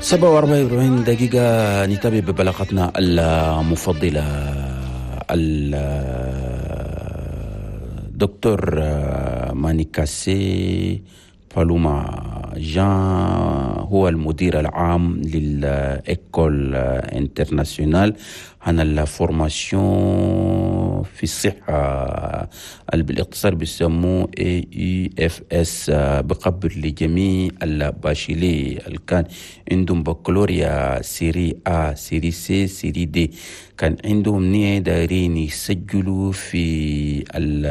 47 دقيقة، نتابع ببلاغتنا المفضلة. الدكتور مانيكاسي بالوما جان هو المدير العام لل école internationale عن ال formation في الصحة، اللي بالاختصار بيسموه AEFS، بقبل لجميع ال bacheliers اللي كان عندهم بكالوريا série A، série C، série D، كان عندهم نية دايرين يسجلوا في ال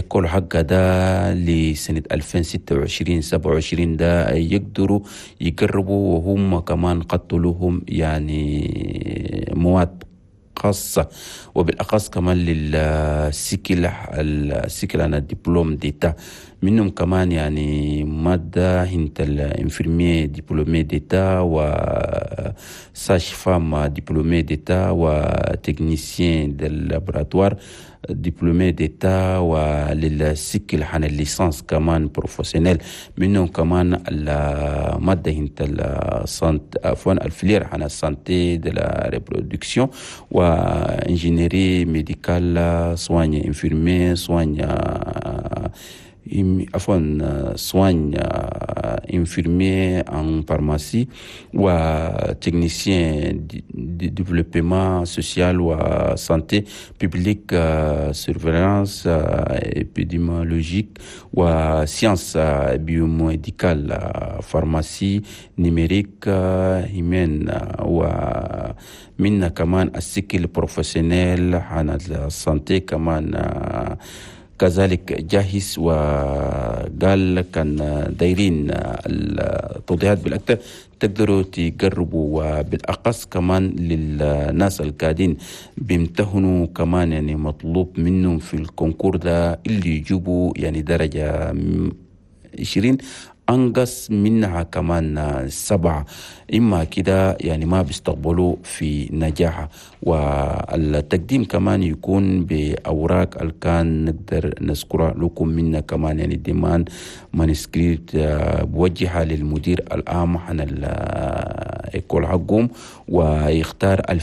école حقه ده لسنة 2026 27، ده يقدروا يقربوا، وهم كمان قتلوهم يعني مواد خاصة، وبالأخص كمان لل cycle ال cycle هنا diplôme d'état، منهم كمان يعني مادة هنت ال infirmier diplômé d'état و sage-femme diplômé d'état و technicien de laboratoire diplômé d'état، ولل cycle حنا ال licence كمان professionnelle، منهم كمان المادة هنت ال santé، عفوا، ال filière حنا santé de la reproduction و ingénierie médicale، soins infirmiers، soins، عفوا، soins infirmier en pharmacie و technicien de développement social و santé publique، surveillance épidémiologique و sciences biomédicales، pharmacie numérique، hygiène، ومنا كمان ال cycle professionnel عن ال santé كمان كذلك جاهز. وقال كان دايرين التوضيحات بالأكثر تقدروا تقربوا، وبالأخص كمان للناس القاعدين بيمتهنوا كمان، يعني مطلوب منهم في ال concours ده اللي يجيبوا يعني درجة 20 أنقص منها كمان 7، إما كده يعني ما بيستقبلوا في نجاحة. والتقديم كمان يكون بأوراق اللي كان نقدر نذكرها لكم، منا كمان يعني demande manuscrite بوجهها للمدير العام عن ال école حقهم، ويختار ال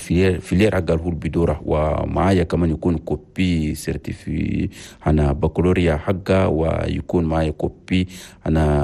filière حق هو بدوره، ومعايا كمان يكون copie certifiée هنا بكالوريا حقه، ويكون معايا copie هنا.